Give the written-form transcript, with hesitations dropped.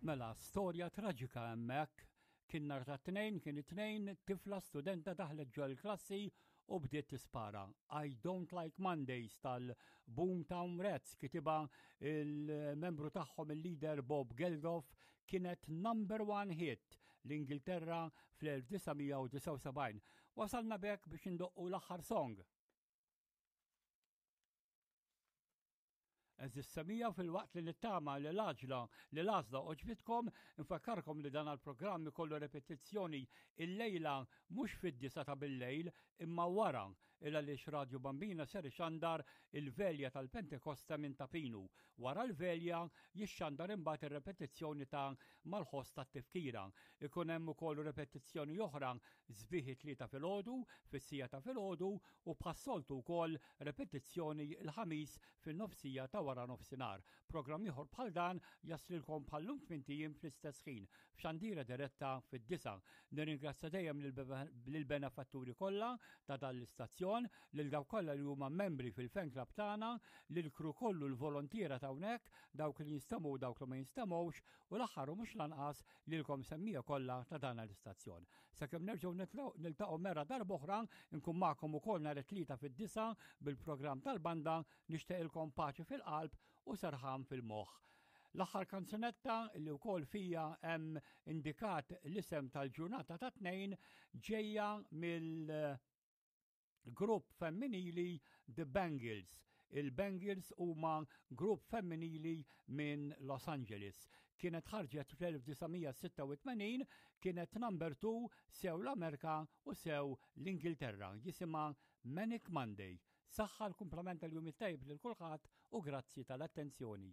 Mela, storja traġika hemmhekk. Kien nhar ta' tnejn, kien it-tnejn, tifla studenta daħlet ġol klassi u bdiet tispara. I Don't Like Mondays tal-Boomtown Rats kitibha il-membru tagħhom il-leader Bob Geldof kienet number one hit l-Ingilterra fl-1979. Wasalna bek biex indoqqu l-aħħar song. Għeżież semija filwaqt li nittama li l-għaġla li l-għażla għoġbitkom, infakkarkom li dan għall-programm ikollu repetizzjoni illejla mhux fid-disa ta' billejl imma wara il għaliex Radju Bambina ser ixandar il-velja tal-Pentekosta minn Ta' Pinu. Wara l-velja jixxandar imbagħad ir-repetizzjoni ta' Mal-ħoss tat-tifkira. Ikun hemm ukoll repetizzjoni oħra sbieħ it-Tlieta filgħodu, fis-siegħa ta' filgħodu u bħas-soltu wkoll repetizzjoni l-Ħamis fin-nofsija ta' wara nofsinhar. Programm ieħor bħal dan jaslilkom bħal-lum tmint ijiem fl-istess ħin, f'xandira diretta fid-disgħa. Nirringrazzja dejjem lill-benefatturi kollha ta' dan l-istazzjon, lil dawk kollha li huma membri fil-fan club tagħna, lill-crew kollu l-volontiera ta' hawnhekk, dawk li jinstemgħu u dawk li ma jinstemgħux, u l-aħħar u mhux l-anqas lilkom semmiegħa kollha ta' dan l-istazzjon. Sakemm nerġgħu niltaqgħu mera darb'oħra, nkun magħkom ukoll nhar it-Tlieta fid-disgħa bil-programm tal-banda nixtieqilkom paċi fil-qalb u serħan fil-moħħ. L-aħħar kanzunetta li wkoll fija hemm indikat l-isem tal-ġurnata ta' tnejn ġejja mill grupp femminili The Bangles. Il-Bangles huma grupp femminili minn Los Angeles. Kienet ħarġet fl-1986, kienet number 2 sew l-Amerika u sew l-Ingilterra. Jisimha Manic Monday. Saħħa l-kumplament tal-jum it-tajjeb lil kulħadd u grazzi tal-attenzjoni.